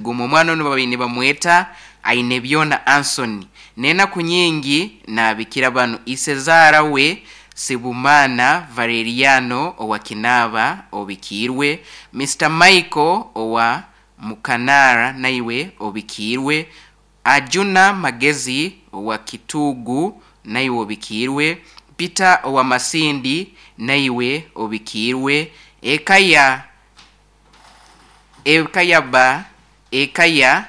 Guma omwana onu babaire nibamweta Ainebyona Anson. N'enaku nyingi naabikira banu Isezaara we Sibumana Valeriano owa Kinaaba obikiirwe, Mister Michael owa Mukanara naiwe obikiirwe, Ajuna Magezi owa Kituugu naiwe obikiirwe, Peter owa Masindi naiwe obikiirwe, eka ya eka ya ba eka ya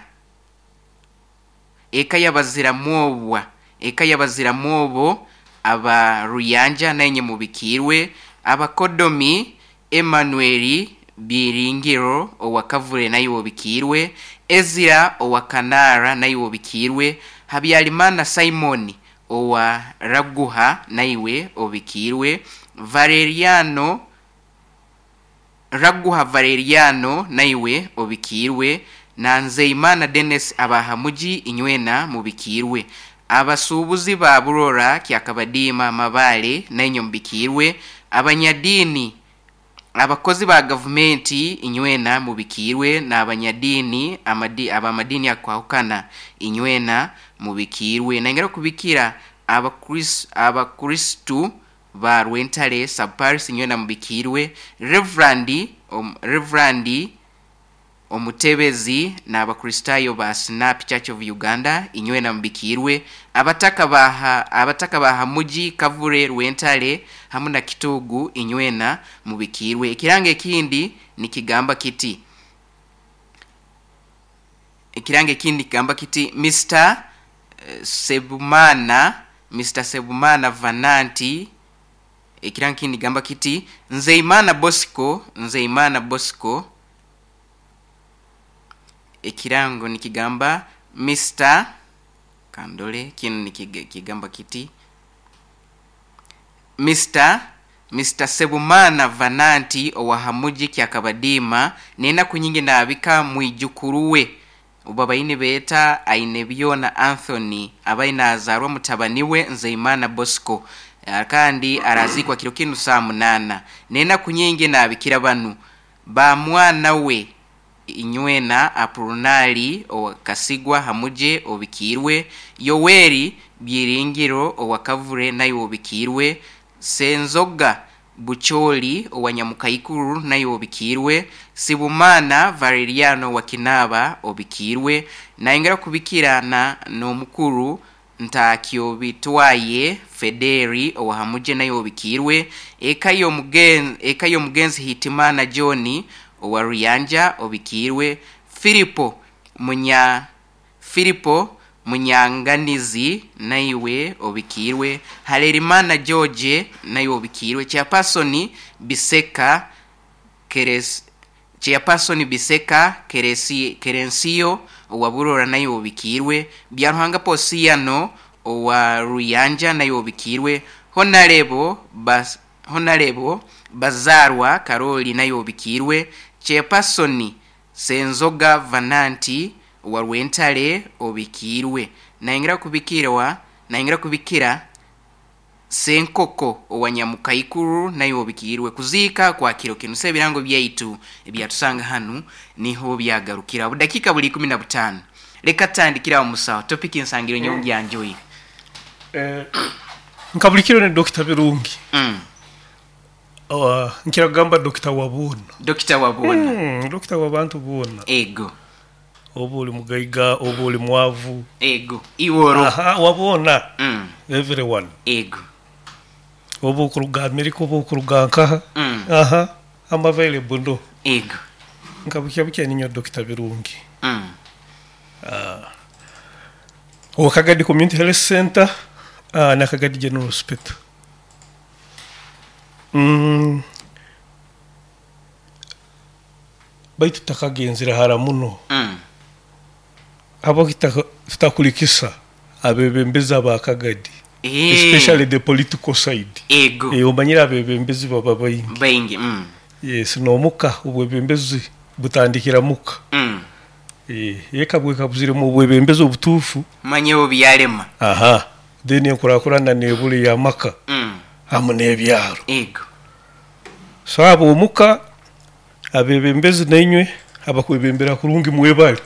eka ya Baziramwobwa eka ya Baziramwobo aba Ruyanja nainye mubikiirwe, Abakodomi Emmanuel Byiringiro owa Kavule naiwe obikiirwe, Ezira owa Kanaara naiwe obikiirwe, Habyarimana Simon owa Raguha naiwe obikiirwe, Valeriano Raguha Valeriano naiwe obikiirwe, na Nzeimana Denis aba Hamugi inywena mubikiirwe. Abasuubuzi ba Burora, Kyakabadiima, Mabaale nainywe mubikiirwe, abanyadiini abakozi ba gavumenti inywena mubikiirwe, n'abanyadiini amadi ab'amadiini akwahukana inywena mubikiirwe. Naingera kubikira Abakris Abakristu ba Rwentale Sub-Parish inywena mubikiirwe, Reverand Reverand Omutebezi n'Abakristaayo ba Snap Church of Uganda inywena mubikiirwe, abataka ba abataka ba Hamugi, Kavule, Rwentale hamu na Kituugu inywena mubikiirwe. Ekirango ekindi nikigamba kiti Ekirango ekindi nikigamba kiti Mister Sebumana Mister Sebumana Vananti ekirango ekindi nikigamba kiti Nzeimana Bosco Nzeimana Bosco ekirango nikigamba Mister kandore kinu nikigamba kiti Mister Mister Sebumana Vananti owa Hamugi Kyakabadiima n'enaku nyingi naabika mwijukuru we obu nibeeta Ainebyona Anthony abaire naazaarwa mutabani we Nzeimana Bosco kandi araziikwa kiro kinu saa munaana. N'enaku nyingi naabikira banu ba mwana we inywena Apolonari owa Kasigwa Hamuje obikiirwe, Yoweri Byiringiro owa Kavule naiwe obikiirwe, Senzoga Bucholi owa Nyamukaikuru naiwe obikiirwe, Sibumana Valeriano owa Kinaaba obikiirwe, naayongera kubikira na n'omukuru Ntakyobitwaye Federi owa Hamuje naiwe obikiirwe, eka y'omugen eka y'omugenzi Hitimana John owa Ruyanja obikiirwe, Filipo Munya Filipo Munyanganizi naiwe obikiirwe, Harerimana George naiwe obikiirwe, Chairperson Biseka Keres Chairperson Biseka Keresi Kerensiyo owa Burora naiwe obikiirwe, Byaruhanga Posiano owa Ruyanja naiwe obikiirwe, Honarebo Bas Honarebo Bazaarwa Karoli naiwe obikiirwe, Chairperson Senzoga Vananti owa Rwentale obikiirwe. Naingira kubikirwa naingira kubikira Senkoko owa Nyamukaikuru naiwe obikiirwe. Kuziika kwa kiro kinu. So ebirango byaitu ebyatusanga hanu niho byagarukira. Obudakiika buli ikumi na butaano. Leka tutandikire aho musaho. Topic nsangire nyowe ngyanjoire. Nka buli kiro ni Dokita Birungi. Nkira kugamba Dokita wa boona. Dokita wa boona. Dokita w'abantu boona. Ego. Oba oli mugaiga, oba oli mwavu. Ego. Iwe oroho. Aha, wa boona. Everyone. Ego. Oba okuruga America oba okuruga nkaha. Aha, am available ndo. Ego. Nka bukya bukya ninyowe Dokita Birungi. Owa Kagadi Community Health Centre na Kagadi General Hospital. Baitu tutakagenzire hara muno, habwaki tutakulikisa abebembezi aba Kagadi, especially the political side? Ego. Omanyire abebembezi baba baingi. Baingi. Yes, n'omuka obwebembezi butandikira muka. Eka bwekabuziremu obwebembezi obutuufu, Manya obu byarema. Aha, then enkurakurana nebura ey'amaka hamu n'ebyaro. Ego. So ab'omuka, abebembezi nainywe abakwebembera kurungi mwebale.